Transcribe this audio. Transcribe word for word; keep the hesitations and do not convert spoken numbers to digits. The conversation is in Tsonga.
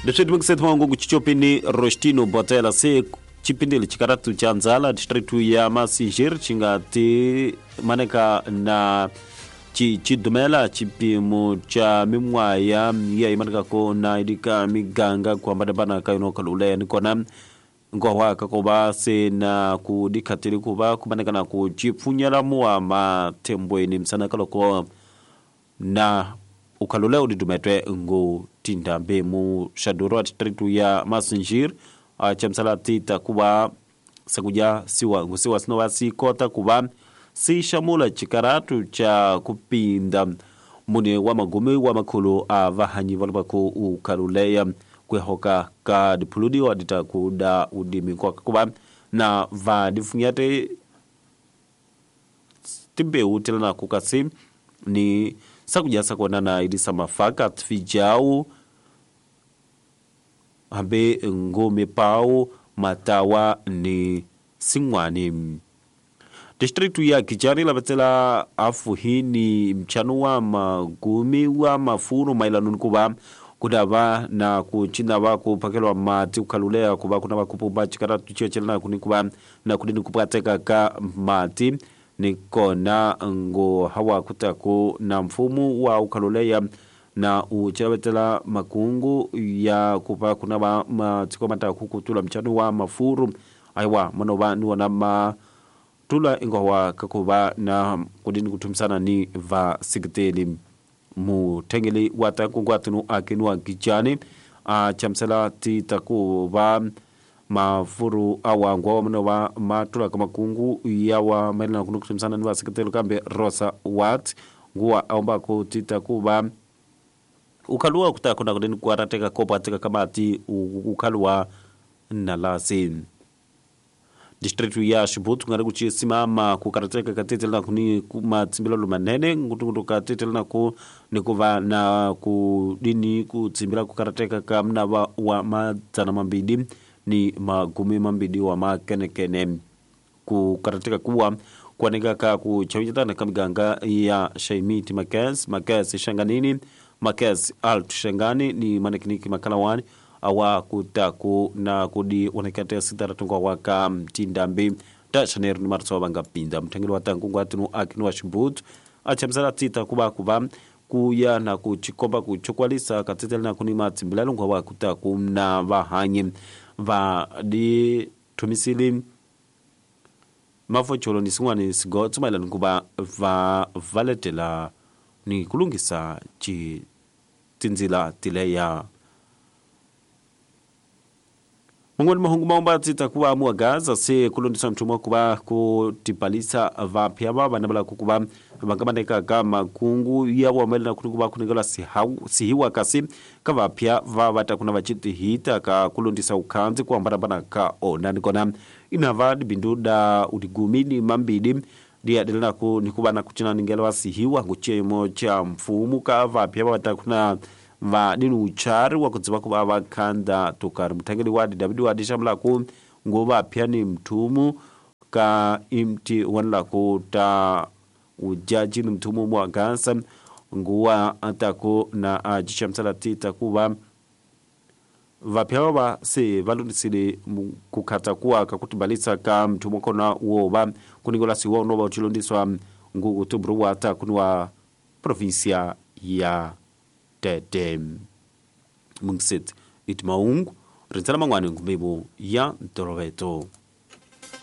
Distrito Mukset Mangu Chichopini Rostino Botela se chipindili chikaratu cha nzala distrito ya Massingir chingati maneka na chi chidumela chipimo cha mimwaya ya imaneka ko na idika miganga kuambadabana kayuno kalule nikona ngowa kakoba se na kudikatili kuba kumaneka na kuchipfunyela muwa matembweni msana kaloko na ukalule udidumetwe ngu tindambe mu shaduro distrito ya Massingir chamsala tita kuba sakuja siwa ngusiwa sinowa sikota kuba si shamula chikaratu cha kupinda mune wa magumi wa makulu a vahanyi valubako ukaluleya kwehoka ka dipuludi wa dita kuda udimi kwa kuba na vadifunyate timbe utela na kukasi ni sakuja sakona na idisa mafaka tfijau hambe ngome pau matawa ni singwani. Distritu ya Kijani labatela afuhini mchano wa magumi wa mafuru mailanu kuba kudava na kuchina wako pakelwa mati ukalulea kuba kuna wakupumba chikara tuchiochela na kunikuba na kudini kupateka ka mati nikona ngo hawa kutaku na mfumu wa ukalulea na uchelawetela makungu ya kupa kuna wa matiko mata kukutula mchano wa mafuru aiwa manoba nuwa na ma tula ingowa kakuba na kudini kutumsana ni va sigteli mutengeli wataku watunu akinwa kijani a chamsela titakuba mafuru awa ngwa manoba matula kamakungu yawa mailana kunu kutumsana ni va sigteli kambe Rosa Wat nguwa aomba kutitakuba ukalua kutakuna kudini kuarateka kopa teka kamati ukalua nalasi. Distritu ya Shibutu ngari kuchisimama kukarateka katete na kuni kumatsimbila lumanene ngutungutu katete na ku nikuva na kudini kutsimbila kukarateka kamna wa, wa madzana mambidi ni magumi mambidi wa makenekene kukarateka kuwa kuaneka ka kuchawita kamiganga ya Shaimiti Makes Makes Shanganini Makes Alt Shangani ni manekiniki makalawani awa kutaku na kudi wanakate sitara tungwa waka mtindambi ta shaneru ni martso banga pinda mtengelo watangu ngwatinu akinu wa Shibutu achamsala tita kuba kuba kuya na kuchikomba kuchokwalisa katetela na kunima tsimbilalo ngwa kutaku na vahanyi va di tumisili mafocholo ni singwani sigotso mailano kuba va valetela ni kulungisa chi tinzila tileya. Mungoni mahungu maomba titakuwa mua Gaza se kulondisa mtumwa kuba kutipalisa vapya baba nabala kukuba bangamaneka kama kungu ya wamela na kunukuba kunigala sihau sihiwa kasi kavapya vavata kuna vachiti hita ka kulondisa ukanzi kwa mbarabana ka ona nikona inava binduda udigumini mambidi dia delana ku nikuba na kuchina ningela sihiwa nguchemo cha mfumu kavapya vavata kuna va dinu uchari wa kudziva kuva vakanda tukari mutangeli wadi David wadi shamlaku ngova pyani mtumu ka imti wanlaku ta ujaji ni mtumu mwa gansa nguwa atako na ajishamsala tita kuva vapyawa se valundisile kukata kuwa kakutimbalisa ka mtumu kona woba kuningola siwa unoba uchilondiswa ngu utubru wata kunwa provincia ya Tete mungsit itmaungu rintsala mangwani ngumebo ya ntoroveto.